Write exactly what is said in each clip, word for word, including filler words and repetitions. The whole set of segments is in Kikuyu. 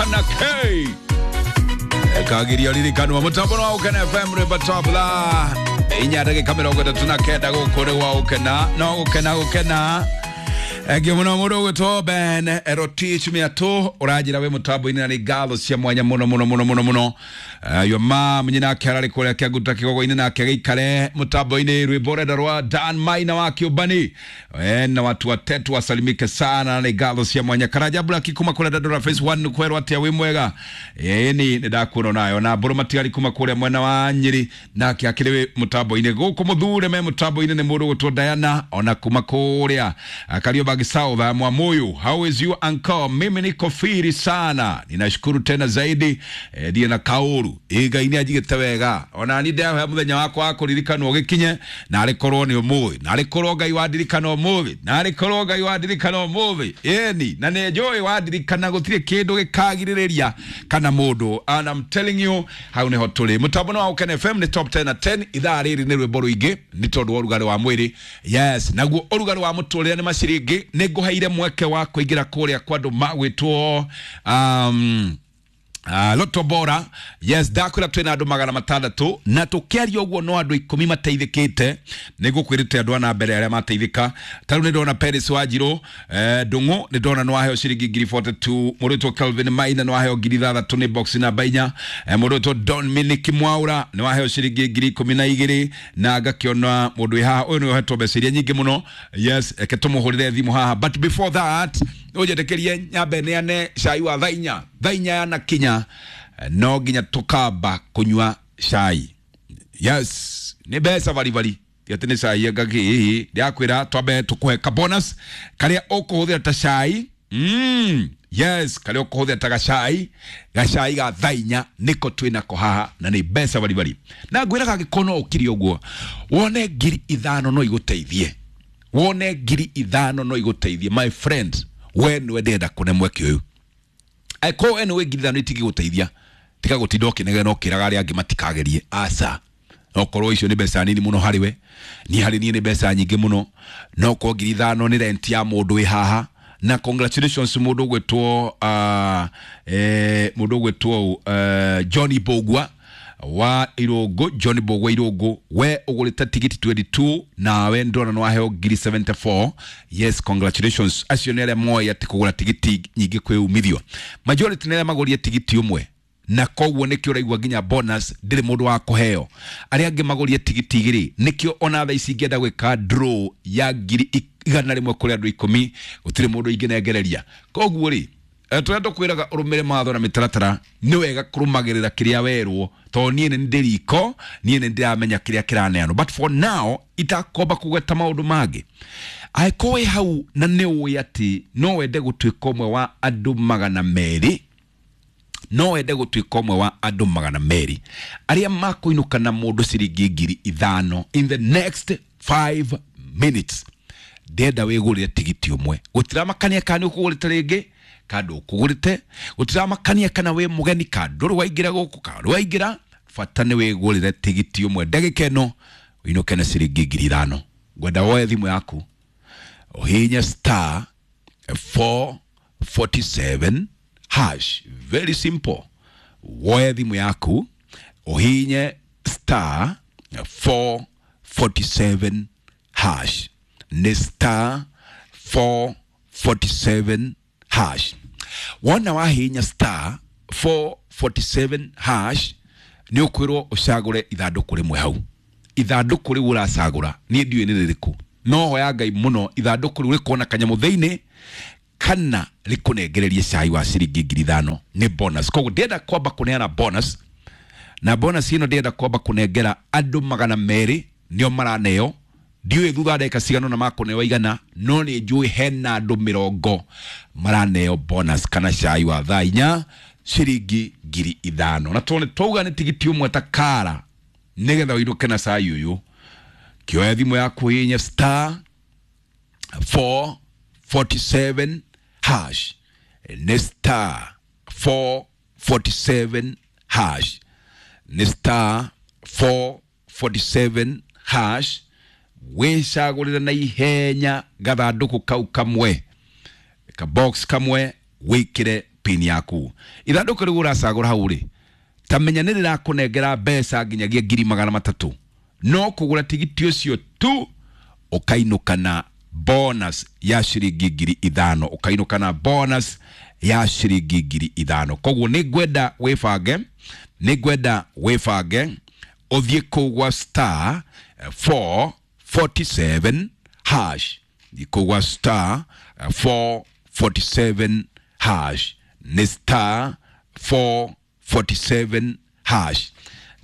Na K kagiria ririkanwa mutambo wa Ukena F M rwimbo top la inya ndagika mirongo itatu na kenda guku ni gwa gukena no gukena gukena engio muno mundu ugwitwo Ben Erotich Miatu uranjira wi mutambo-ini na ni ngatho cia mwanya muno muno muno muno muno. Uh, your mom nyina ake arari kuria Kianguta Kigogo-ini nake agĩikare mutambo-ini rwimbo renda rwa Dan Maina wa Kiumbani na watu watetu wasalimike sana na nĩ ngatho cia mwanya. Karanja Black kuma kuria Dandora Phase one kwerwo atia wi mwega ĩni nĩ ndakuona nayo na Mbũrũ Matigari kuma kuria mwena wa Nyeri nake akĩrĩ wi mutambo-ini guku muthure me mutambo-ini nĩ mũndũ ũgwĩtwo Diana ona kuma kuria Kariobangi South. Mwamuyu, how is you uncle? Mimi niko firi sana, ninashukuru tena zaidi. Eh, ndiĩ na kaũru ĩ Ngai nĩ anjigĩte wega ona ni ndahoya muthenya wakwa wa kũririkanwo ũgĩkinye narĩ korwo nĩ ũmũthĩ narĩ korwo Ngai wandirikana ũmũthĩ narĩ korwo Ngai wandirikana ũmũthĩ ĩni na nĩ njũĩ wandirikana gũtirĩ kĩndũ gĩkagirĩrĩria kana mũndũ, and I'm telling you hau nĩho tũrĩ. Mũtambo wa Ukena F M nĩ top ten na ten ithaa rĩrĩ nĩ rwĩmbo rũingĩ nĩ tondũ wa ũrugarĩ wa mwĩrĩ. Yes, naguo ũrugarĩ wa mũtũrĩre nĩ maciringi. Nĩ ngũheire mweke wa kũingĩra kũrĩa kwa andũ magwĩtwo um, Uh, Lotto Bora. Yes, ndakwĩra twĩna andũ magana matandatũ na tũkĩaria ũguo no andũ ikũmi mateithĩkĩte. Nĩ ngũkwĩrĩte andũ ana mbere arĩa mateithĩka. Ta rĩu nĩ ndona Paris Wanjirũ eh, Ndung'u nĩ ndona nĩ waheo ciringi ngiri forty two. Mũndũ wĩtwo Kelvin Maina nĩ waheo ngiri ithathatũ nĩ box namba inya. eh, Mũndũ wĩtwo Don Minic Mwaura nĩ waheo ciringi ngiri ikũmi na igĩrĩ na ngakĩona mũndũ wĩ haha ũyũ nĩ ohetwo mbeca iria nyingĩ mũno. Yes, reke tũmũhũrĩre thimũ haha, but before that ũnjĩtĩkĩrie nyambe neane cai wa thaa inya. Thaa inya yanakinya no nginya tukamba kunywa cai. Yes, nĩ mbeca baribari ti atĩ nĩ cai anga kĩ ndĩrakwĩra twambe tũkũhe ka bonus karĩa ũkũhũthĩra ta cai. Mm, yes, karĩa ũkũhũthĩra ta gacai gacai ga thaa inya nĩko twĩnako haha na nĩ mbeca baribari. Na ngwĩra gangĩkorwo no ũkire ũguo wone ngiri ithano no igũteithie, wone ngiri ithano no igũteithie my friend, we nĩwe ndĩrenda kũne mweke ũyũ. Angĩkorwo we nĩwe ngiri ithano itingĩgũteithia tiga gũtinda ũkĩnegena ũkĩraga arĩa angĩ matikagerie, aca. Okorwo icio nĩ mbeca nini mũno harĩ we, niĩ harĩ niĩ nĩ mbeca nyingĩ mũno. No korwo ngiri ithano nĩ rent ya mũndũ wĩ haha. Na congratulations mũndũ ũgwĩtwo uh, eh, mũndũ ũgwĩtwo uh, Johnny Bogwa wa Irũngũ, Johnny Bogwa Irũngũ, we ũgũrĩte tigiti twenty two nawe ndona nĩ waheo ngiri seventy four. Yes, congratulations. Acio nĩ arĩa moĩ atĩ kũgũra tigiti nyingĩ kwĩ umithio. Majority nĩ arĩa magũrire tigiti ũmwe na koguo nĩkĩo ũraigua nginya bonus ndĩrĩ mũndũ wa kũheo. Arĩa angĩ magũrire tigiti igĩrĩ nĩkĩo ona thaa ici ingĩenda gwĩka draw ya ngiri igana rĩmwe kũrĩ andũ ikũmi gũtirĩ mũndũ ingĩnengereria. Koguo rĩ tũrĩa tũkwĩraga ũrũmĩre mawatho na mĩtaratara nĩ wega kũrũmagĩrĩra kĩrĩa werwo tondũ niĩ nĩ ndĩ riko, niĩ nĩ ndĩramenya kĩrĩa kĩraneanwo, but for now itakomba kũgweta maũndũ mangĩ. Angĩkorwo wĩ hau na nĩ ũĩ atĩ no wende gũtuĩka ũmwe wa andũ magana merĩ, no wende gũtuĩka ũmwe wa andũ magana merĩ arĩa makũinũka na mũndũ ciringi ngiri ithano in the next five minutes, ndĩrenda wĩgũrĩre tigiti ũmwe. Gũtiramakania kana nĩ ũkũgũrĩte rĩngĩ kana ndũkũgũrĩte, gũtiramakania kana wĩ mũgeni kana ndũrĩ waingĩra gũkũ kana ndũrĩ waingĩra, bata nĩ wĩgũrĩre tigiti ũmwe ndagĩka ĩno ũinũke na ciringi ngiri ithano. Ngwenda woe thimũ yaku ũhihinye star four forty seven hash. Very simple. Woe thimũ yaku ũhihinye star four forty seven hash. Nĩ star four forty seven hash. Wona wahihinya star four forty seven hash nĩ ũkwĩrwo ũcagũre ithandũkũ rĩmwe hau. Ithandũkũ rĩu ũracagũra niĩ ndiũĩ nĩ rĩrĩkũ, no hoya Ngai mũno ithandũkũ rĩu rĩkorwo na kanyamũ thĩinĩ kana rĩkũnengererie cai wa ciringi ngiri ithano nĩ bonus. Koguo ndĩrenda kwamba kũneana bonus, na bonus ĩno ndĩrenda kwamba kũnengera andũ magana merĩ nĩo maraneo. Ndiũĩ thutha wa ndagĩka cigana ũna makũneo igana, no nĩ njũĩ hena andũ mĩrongo maraneo bonus kana cai wa thaa inya ciringi ngiri ithano. Na tondũ twauga nĩ tigiti ũmwe ta kara nĩgetha ũinũke na cai ũyũ, kĩoya thimũ yaku hihinye star four forty seven hash. Nĩ star four forty seven hash. Nĩ star four forty seven hash. Wĩcagũrĩre na ihenya gathandũkũ kau kamwe ka box kamwe wĩkĩre pin yaku. Ithandũkũ rĩu ũracagũra hau rĩ, ta menya nĩ rĩrakũnengera mbeca nginyagia ngiri magana matatũ. No kũgũra tigiti ũcio tu ũkainũka na bonus ya ciringi ngiri ithano, ũkainũka na bonus ya ciringi ngiri ithano. Koguo nĩ ngwenda wĩbange, nĩ ngwenda wĩbange ũthiĩ kũu gwa star four forty-seven hash, thiĩ kũu gwa star four forty-seven hash, nĩ star four forty-seven hash.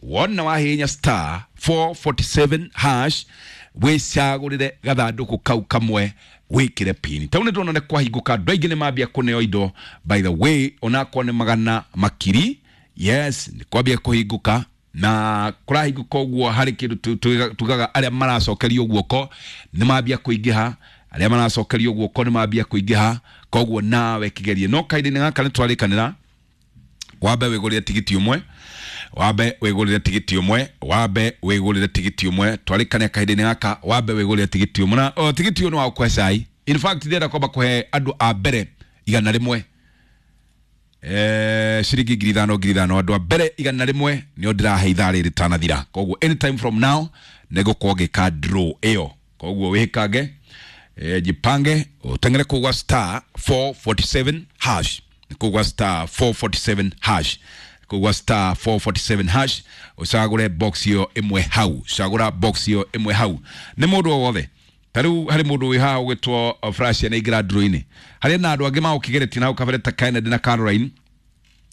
Wona wahihinya star four forty-seven hash wĩcagũrĩre gathandũkũ kau kamwe wĩkĩre pini. Tau nĩ ndĩrona nĩ kwahingũka, andũ aingĩ nĩ mambia kũneo indo. By the way, onakorwo nĩ magana makiri, yes, nĩ kwambia kũhingũka na kũrahingũka ũguo harĩ kĩndũ tugaga arĩa maracokerio guoko nĩ mambia kũingĩha, arĩa maracokerio guoko nĩ mambia kũingĩha. Koguo nawe kĩgerie. No kahinda-inĩ gaka nĩ twarĩkanĩra wambe wĩgũrĩre tigiti ũmwe, wambe wĩgũrĩre tigiti ũmwe, wambe wĩgũrĩre tigiti ũmwe. Twarĩkane kahinda-inĩ gaka wambe wĩgũrĩre tigiti ũmwe, na o tigiti ũyũ nĩ wa gũkũhe cai. In fact ndĩrenda kwamba kũhe andũ a mbere igana rĩmwe eh ciringi ngiri ithano ngiri ithano, andũ a mbere igana rĩmwe nĩo ndĩrahe ithaa rĩrĩ rĩtanathira. Koguo anytime from now nĩngũkorwo ngĩka draw ĩyo. Koguo wĩhĩkange, eh, jipange ũteng'ere kũu gwa star four forty-seven hash, kũu gwa star four forty-seven hash, kũu gwa star four forty-seven hash, ũcagũre box ĩyo ĩmwe hau, cagũra box ĩyo ĩmwe hau. Nĩ mũndũ o wothe ta rĩu harĩ mũndũ wĩ haha ũgwĩtwo Frasia nĩ aingĩra draw-inĩ, harĩ na andũ angĩ magũkĩgeretie na hau kabere ta Kennedy na Caroline.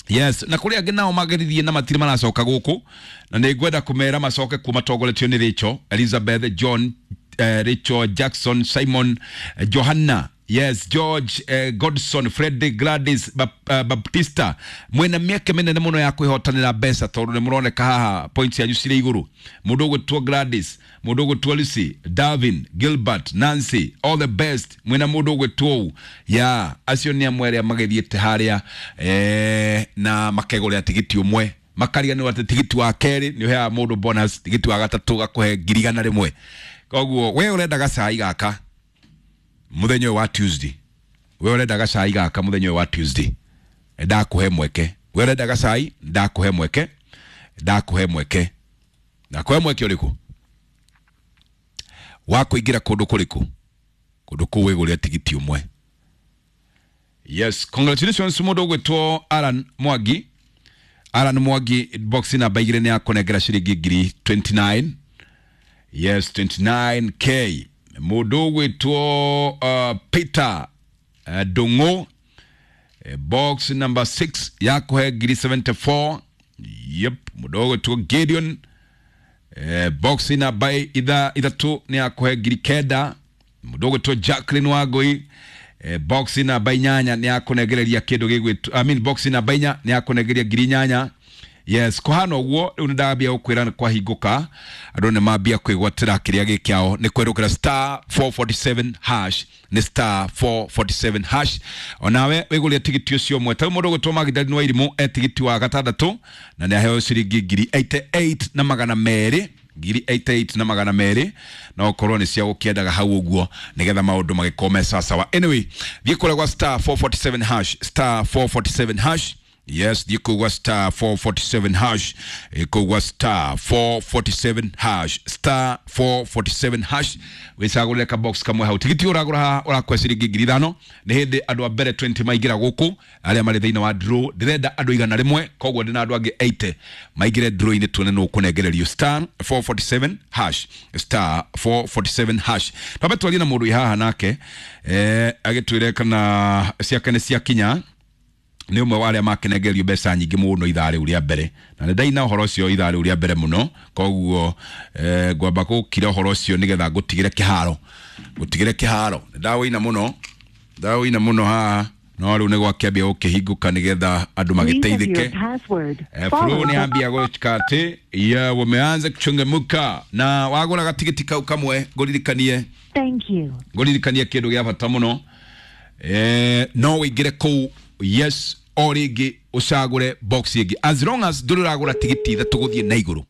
Yes, na kũrĩ angĩ nao mageririe na matirĩ maracoka gũkũ, na nĩ ngwenda kũmera macoke kuo matongoretio nĩ Rachel, Elizabeth, John, eh, Rachel, Jackson, Simon, eh, Johanna, yes, George, eh, Godson, Freddy, Gladys, Bap, uh, Baptista. Mwena mĩeke mĩnene mũno ya kwĩhotanĩra mbeca tondũ nĩ mũroneka haha points yanyu cirĩ igũrũ. Mũndũ ũgwĩtwo Gladys, mũndũ ũgwĩtwo Lucy, Davin, Gilbert, Nancy, all the best. Mwena mũndũ ũgwĩtwo ũũ ya acio nĩ amwe arĩa magĩthiĩte harĩa eh, na makegũrĩra tigiti ũmwe, makariganĩrwo atĩ tigiti wa kerĩ nĩ ũheaga mũndũ bonus, tigiti wa gatatũ gakũhe ngiri igana rĩmwe. Koguo we ũrenda gacai gaka mũthenya ũyũ wa Tuesday, we ũrenda gacai gaka mũthenya ũyũ wa Tuesday, ndakũhe mweke. We ũrenda gacai, ndakũhe mweke, ndakũhe mweke, ndakũhe mweke ũrĩkũ wa kũingĩra kũndũ kũrĩkũ, kũndũ kũu wĩgũrĩre tigiti ũmwe. Yes, congratulations mũndũ ũgwĩtwo Alan Mwangi. Alan Mwangi box namba igĩrĩ nĩ yakũnengera ciringi ngiri twenty-nine. Yes, twenty-nine K. Mũndũ ũgwĩtwo uh, Peter uh, Ndung'u, box number six yakũhe ngiri seventy-four. Yep, mũndũ ũgwĩtwo Gideon, eh, box namba itha ithatũ nĩ yakũhe ngiri kenda. Mũndũ ũgwĩtwo Jacqueline Wangui, eh, box namba inyanya nĩ yakũnengereria kĩndũ gĩgwĩtwo, I mean box namba inya nĩ yakũnengereria ngiri inyanya. Yes, kũhana ũguo rĩu nĩ ndambia gũkwĩra nĩ kwahingũka, andũ nĩ mambia kwĩgwatĩra kĩrĩa gĩ kĩao nĩ kwerũkĩra star four forty-seven hash, nĩ star four forty-seven hash. Onawe wĩgũrĩre tigiti ũcio ũmwe. Ta rĩu mũndũ ũgwĩtwo Magdalene Wairimu e tigiti wa gatandatũ na nĩ aheo ciringi ngiri eighty-eight na magana merĩ, ngiri eighty-eight na magana merĩ, na ũkorwo nĩ cia gũkĩendaga hau ũguo nĩgetha maũndũ magĩkorwo me sawasawa. Anyway, thiĩ kũrĩa gwa star four forty-seven hash, star four forty-seven hash. Yes, thiĩ kũu gwa star four forty-seven hash, kũu gwa star four forty-seven hash, star four forty-seven hash, wĩcagũrĩre ka box kamwe hau. Tigiti ũragũra haha ũrakũhe ciringi ngiri ithano. Nĩ hĩndĩ andũ a mbere twenty maingĩra gũkũ arĩa marĩ thĩinĩ wa draw. Ndĩrenda andũ igana rĩmwe, koguo ndĩna andũ angĩ eighty maingĩre draw-inĩ tuone nũ ũkũnengererio. Star four forty-seven hash, star four forty-seven hash. Twambe twarie na mũndũ wĩ haha nake eh, agĩtwĩre kana ciake nĩ ciakinya. Nĩ ũmwe wa arĩa makenengerio mbeca nyingĩ mũno ithaa rĩu rĩa mbere, na nĩ ndaina ũhoro ũcio ithaa rĩu rĩa mbere mũno. Koguo eh, ngwamba gũkira ũhoro ũcio nĩgetha ngũtigĩre kĩharo, ngũtigĩre kĩharo. Nĩ ndawĩina mũno, ndawĩina mũno haha, no rĩu nĩ gwakĩambia gũkĩhingũka nĩgetha andũ magĩteithĩke. Eh, flow nĩ ambia gwĩka atĩ ya wameanza kuchangamka. Na wagũra gatigiti kau kamwe, ngũririkanie, Thank you. ngũririkanie kĩndũ gĩa bata mũno. Eh, no wĩingĩre kũu, yes, o rĩngĩ ũcagũre box ĩngĩ, as long as ndũrĩ ũragũra tigiti ithatũ gũthiĩ na igũrũ,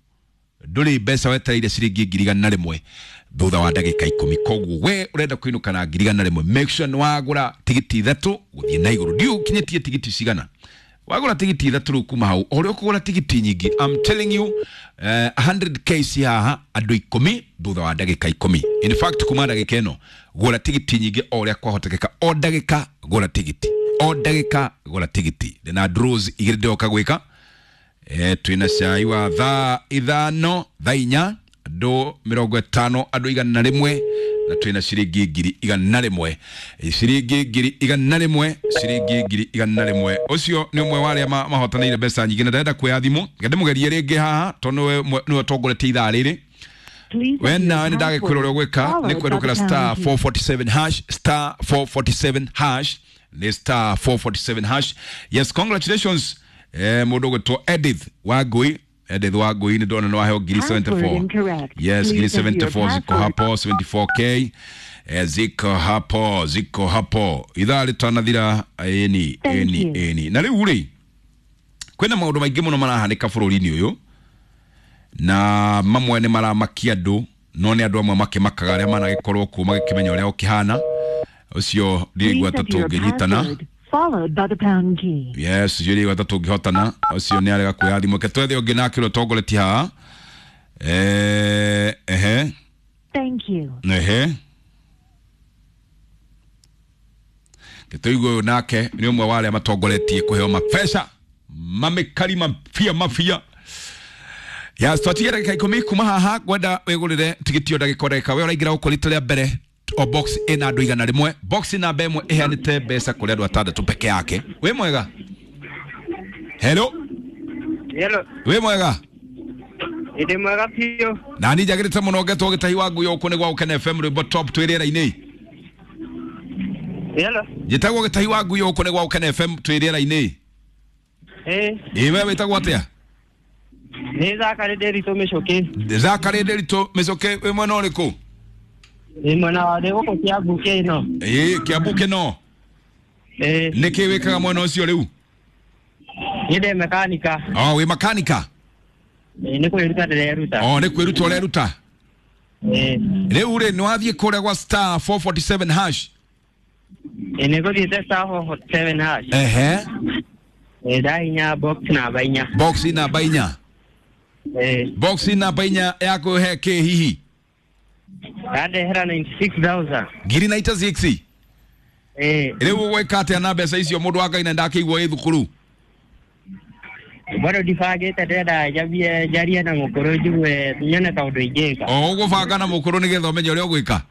ndũrĩ mbeca wetereire ciringi ngiri igana rĩmwe, Thutha wa ndagĩka ikũmi. Koguo we ũrenda kũinũka na ngiri igana rĩmwe, make sure nĩ wagũra tigiti ithatũ gũthiĩ na igũrũ. Ndiũ ũkinyĩtie tigiti cigana. Wagũra tigiti ithatũ rĩu kuma hau, o ũrĩa ũkũgũra tigiti nyingĩ, I'm telling you, uh, one hundred k ci haha andũ ikũmi thutha wa ndagĩka ikũmi. In fact, kuma ndagĩka ĩno gũra tigiti nyingĩ o ũrĩa kwahotekeka. O ndagĩka gũra tigiti, o ndagĩka gũra tigiti. Ndĩna draws igĩrĩ ndĩroka gwĩka. eh, twĩna cai wa thaa ithano, thaa inya, andũ mĩrongo ĩtano, andũ igana rĩmwe, na twĩna ciringi ngiri igana rĩmwe, ciringi ngiri igana rĩmwe, ciringi ngiri igana rĩmwe. Ũcio nĩ ũmwe wa arĩa ma- mahotanĩire mbeca nyingĩ na ndarenda kuoya thimũ. Reke ndĩmũgerie rĩngĩ haha tondũ nĩwe nĩwe ũtongoretie ithaa rĩrĩ. We nawe nĩ ndagĩkwĩra ũrĩa ũgwĩka nĩ kwerũkĩra star four forty-seven hash, star four forty-seven hash, nĩ star four forty-seven hash. Yes, congratulations, eh, mũndũ ũgwĩtwo Edith Wangui. Edith Wangui, nĩ ndona nĩ waheo ngiri Password seventy-four. Incorrect. Yes, ngiri Please enter your seventy-four ziko password. hapo, seventy-four k, eh, ziko hapo, ziko hapo ithaa rĩtanathira. Ĩni. Thank Ĩni. you. Ĩni. Na rĩu rĩ, kwĩna maũndũ maingĩ mũno marahanĩka bũrũri-inĩ ũyũ, na mamwe nĩ maramakia andũ, no nĩ andũ amwe makĩmakaga arĩa managĩkorwo kuo magĩkĩmenya ũrĩa ũkĩhana ũcio. Ndirigua Please ta enter your tũngĩnyitana. Password, followed by the pound key. Yes, ũcio ndirigua ta tũngĩhotana. Ũcio nĩ arega kuoya thimũ. Reke twethe ũngĩ nake ũrĩa ũtongoretie haha. Eh, ehe. Thank you. Ehe, tũigue ũyũ nake nĩ ũmwe wa arĩa matongoretie kũheo mabeca mamĩkari mabia mabia. Yes, twatigia ndagĩka ikũmi kuma haha. Ngwenda wĩgũrĩre tigiti o ndagĩka o ndagĩka. We ũraingĩra gũkũ rita rĩa mbere, o box ĩna andũ igana rĩmwe, box namba ĩmwe ĩheanĩte mbeca kũrĩ andũ atandatũ peke yake. Wĩ mwega? Hello? Hello. Wĩ mwega? Ndĩ mwega biũ. Na ni njagĩrĩte mũno. Ngetwo Gĩtahi wa Nguyo, gũkũ nĩ gwa Gũkena F M, rwĩmbo top, twĩ rĩera-inĩ. Hello. Njĩtagwo Gĩtahi wa Nguyo, gũkũ nĩ gwa Gũkena F M, twĩ rĩera-inĩ. Eh, Ĩ, we wĩtagwo atĩa? Nĩ Zakari Nderitu Mĩcũkĩ. Zakari Nderitu Mĩcũkĩ, wĩ mwena ũrĩkũ? Ndĩ mwena wa ndĩ gũkũ Kiambu kĩno. Ĩ, Kiambu kĩno? Eh, nĩkĩ wĩkaga mwena ũcio rĩu? Niĩ ndĩ mekanika. O wĩ makanika? Eh, nĩ kwĩruta ndĩreruta. O nĩ kwĩruta ũreruta? Eh, Rĩu rĩ, nĩ wathiĩ kũrĩa gwa star four forty-seven hash? Eh, nĩ ngũthiĩte star four forty-seven hash. Ehe. Eh, ndahinya box namba inya. Box namba inya? Eh, Box namba inya yakũhe kĩ hihi? Yandehera ninety-six thousand. Ngiri ninety-six? Eh, Rĩu ũgwĩka atĩa na mbeca icio, mũndũ wa Ngai, na ndakĩigua wĩ thukuru? Bado ndibangĩte, ndĩrenda njambie njarie na mũkũrũ njigue nyone kaũndũ ingĩka. O ũgũbanga na mũkũrũ nĩgetha ũmenye ũrĩa ũgwĩka?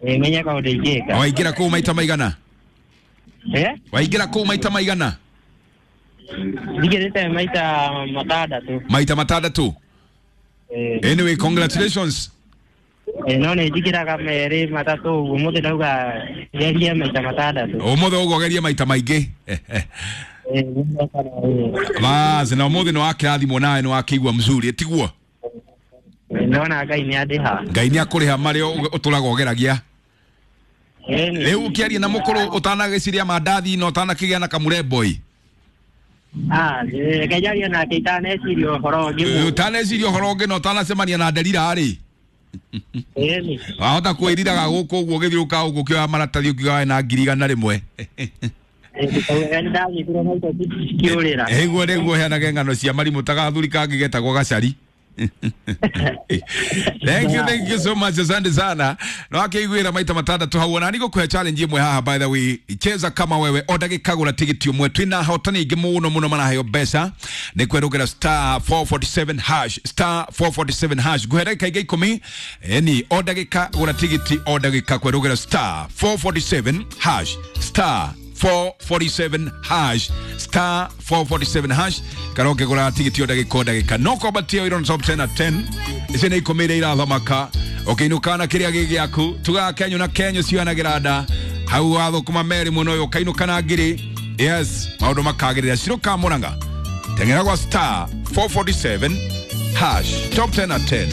Eh, menye kaũndũ ingĩka. Waingĩra kũu maita maigana? Eh, Waingĩra kũu maita maigana? Njingĩrĩte maita matandatũ. Maita matandatũ? Eh, Anyway, congratulations. Eh, no nĩ njingĩraga merĩ matatũ ũguo, mũthĩ ndauga ngerie maita matandatũ. Ũmũthĩ ũguo maita maingĩ. Eh, nĩguo kana, eh, Basi, na ũmũthĩ nĩ wakĩrathimwo nawe nĩ wakĩigua mzuri, tiguo? Eh, ndona Ngai nĩ andĩha. Ngai nĩ akũrĩha marĩa ũtũraga ũgeragia. Eh, nĩ- Rĩu ũkĩaria na mũkũrũ ũtanagĩciria mandathi na ũtanakĩgĩa na kamũrembo ĩ? Ah, eh, reke njarie nake itaneciria ũhoro ũngĩ mũũru. Ũtaneciria ũhoro ũngĩ na ũtanacemania na nderira rĩ, Eh, nĩ. wahota kwĩriraga gũkũ ũguo ũgĩthiũka ũguo ũkĩoya maratathi ũkiuga we na ngiri igana rĩmwe. Eh, nĩ ndanyitire maita cikĩũrĩra. Ĩguo nĩguo heanage ng'ano cia marimũ ta gathuri kangĩ getagwo gacari. Thank you, thank you so much, asante sana. Na wakĩiguĩra maita matandatũ hau. Ona nĩngũkũhe challenge ĩmwe haha, by the way. Cheza kama wewe, o ndagĩka gũra tigiti ũmwe. Twĩna ahotani aingĩ mũno mũno maraheo mbeca nĩ kwerũgĩra star four forty-seven hash, star four forty-seven hash. Ngũhe ndagĩka ingĩ ikũmi. Eni, o ndagĩka gũra tigiti, o ndagĩka kwerũgĩra star four forty-seven hash, star four forty-seven hash, star four forty-seven hash, kana ũkĩgũra tigiti o ndagĩka o ndagĩka no kwambatia wĩra on top ten at ten. Icio nĩ ikũmi iria irathamaka ũkĩinũka na kĩrĩa gĩ gĩaku. Tugaga kenyu na kenyu cianagĩra nda hau wathũkũma merĩ mũno ũyũ ũkainũka na ngiri. Yes, maũndũ makagĩrĩra. Cirũka mũranga, teng'era gwa star four forty-seven hash, top ten at ten.